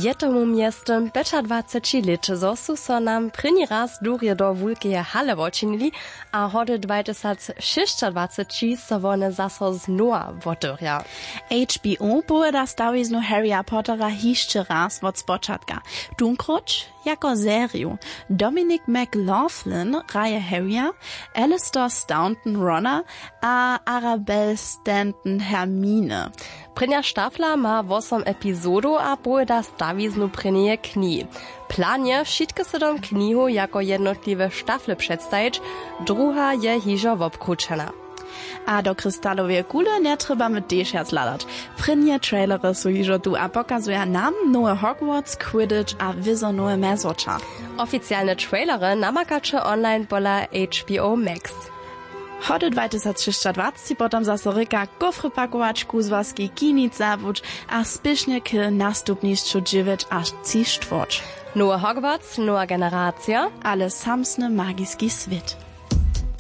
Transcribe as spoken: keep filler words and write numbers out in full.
Je tomu mjeztym pjećadwaceći lět, zo su so nam prěni raz durje do wulkeje hale wočinili, a hody dwajtysacšěsćadwaceći so wone zaso znowa wotewrja. H B O powěda stawiznu Harryja Pottera hišće raz wot spočatka, tunkróć jako seriju. Dominic McLaughlin hraje Harryja, Alastor Staunton Rona a Arabelle Stanton Hermine. Prěnja štafla ma wosom epizodow a powěda stawiznu prěnjeje knihi. Plan je, wšitke sydom knihow jako jednotliwe štafle předstajić, druha je hižo wobkrućena. A do kristaloweje kule njetrjebamy tež wjac hladać. Prěnje trailery su hižo tu a pokazuja nam nowy Hogwarts, Quidditch a wězo nowe mjezwoča. Oficialne trailery namakaće online pola H B O Max. Hody dwajtysacšěsćadwaceći potom zaso rěka kófry pakować, kuzłaski kinic zabuć a spěšnje k nastupnišću dźewjeć a tři štwórć. Nowy Hogwarts, nowa generacija, ale samsny magiski swět.